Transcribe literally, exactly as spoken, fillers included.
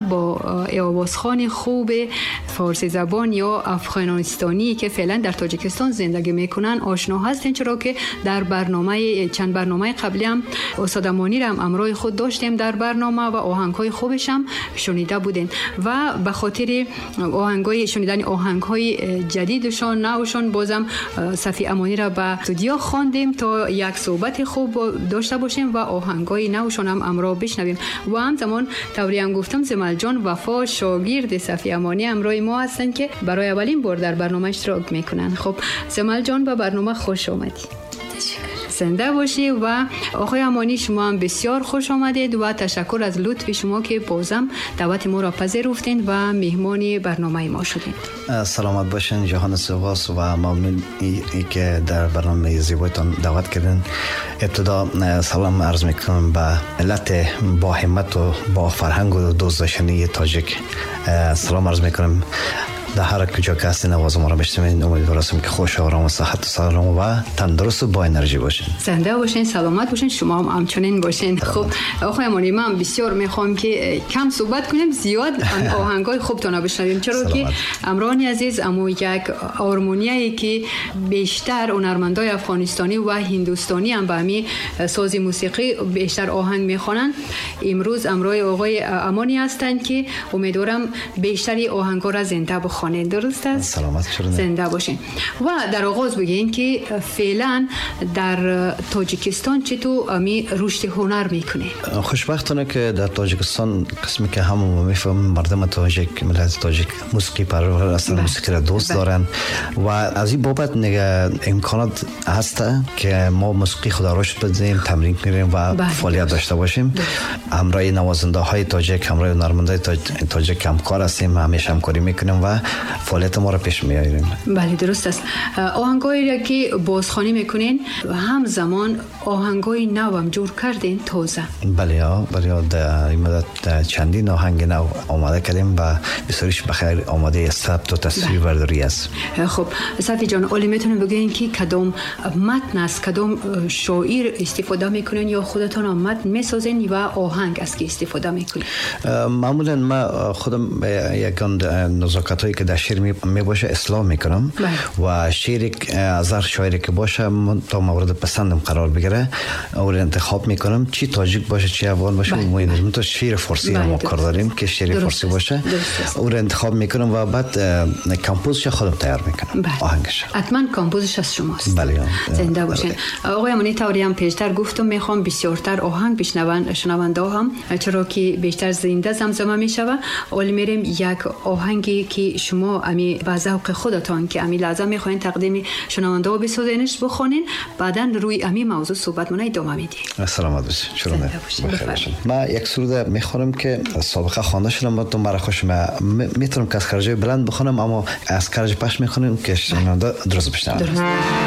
با آوازخوان خوب فارسی زبان یا افغانستانی که فعلا در تاجیکستان زندگی میکنن آشنا هستین، چرا که در برنامه چند برنامه قبلی هم استاد امانی را هم امرای خود داشتیم در برنامه و آهنگ‌های خوبش هم شنیده بودین و به خاطر آهنگ‌های شنیدن آهنگ‌های جدیدشان نوشان بازم صفی امانی را به استودیو خواندیم تا یک صحبت خوب داشته باشیم و آهنگ‌های نوشان هم امرا بشنویم. و همزمان طوری هم گفتم زمل جان وفا شاگرد صفی امانی امرای ما هستن که برای اولین بار در برنامه اشتراک میکنن. خب زمل جان به برنامه خوش آمدی. زنده باشی. و آقای امانی شما هم بسیار خوش آمدید و تشکر از لطف شما که بازم دعوت ما را پذیرفتین و مهمان برنامه ما شدید. سلامت باشین، جهان سپاس و ممنون ای, ای که در برنامه زیبایتان دعوت کردین. ابتدا سلام عرض میکنم به ملت با همت و با فرهنگ و دوست داشتنی تاجیک. سلام عرض میکنم در هر کجا که هستین آواز ما را بشنوین. امیدوارم که خوش و آرام و صحت و سلام و تندرست و با انرژی باشین. زنده باشین، سلامت باشین، شما هم همچنین باشین. خب آقای امانی من بسیار میخوام که کم صحبت کنیم، زیاد آهنگای خوبتون بشنویم، چرا که امرانی عزیز امو یک آرمونیایی که بیشتر هنرمندای افغانستانی و هندوستانی هم به همی ساز موسیقی بیشتر آهنگ میخوانن. امروز امرای آقای امانی هستند که امیدوارم بیشتر آهنگا را زنده بخوانند. درست است؟ سلامت شدن. زنده باشین. و در آغاز بگین که فعلا در تاجیکستان چطور امی رشد هنر میکنه؟ خوشبختانه که در تاجیکستان قسمی که هم میفهمم مردم تاجیک، ملت تاجیک موسیقی پرور هستن، موسیقی را دوست دارن و از این بابت نگه امکانات هست که ما موسیقی خود را رشد بدیم، تمرین کنیم و فعالیت داشته باشیم. همراه نوازنده های تاجیک، همراه هنرمندای تاجیک همکار هستیم، همیشه همکاری میکنیم و فعالیت ما را پیش میاریم. بله درست است. آهنگایی را که بازخوانی میکنین همزمان آهنگای نو هم جور کردین تازه؟ بله ها، بله در این مدت چندین آهنگ نو آماده کردیم و بسیارش بخیر آماده ثبت و تصویر برداری است. خب صفی جان، اولی میتونیم بگین که کدام متن است، کدام شاعر استفاده میکنین یا خودتان هم متن میسازین و آهنگ است که استفاده میکنین؟ معمولا ما خودم یکان نزاکت هایی که در شعر می باشه اصلاح میکنم. بله. و شعر از هر شاعری که باشه تا مورد پسندم قرار بگیره او را انتخاب میکنم، چی تاجیک باشه چی افغان باشه. بله. ما تو شعر فارسی ما کار داریم که شعر فارسی باشه او را انتخاب میکنم و بعد compose ش خودم تیار میکنم. بله. آهنگش حتما compose ش از شماست. بله. زنده باشین. آقای امانی طوری هم پیشتر گفتم میخوام بسیارتر آهنگ بشنون شنونده هم، چرا که بیشتر زنده زمزمه میشوه. اول میریم یک آهنگی که شما امی با ذوق خودتان که امی لحظه میخواین تقدیم شنونده ها بسازینش بخونین، بعدا روی امی موضوع صحبت مون ادامه میدیم. سلامت باشین. چرا نه؟ ما یک سرود میخونم که سابقه خوانده شدم، با تو مرا خوش میتونم که از خرجه بلند بخونم، اما از خرج پش میخونم که شنونده درست بشنون.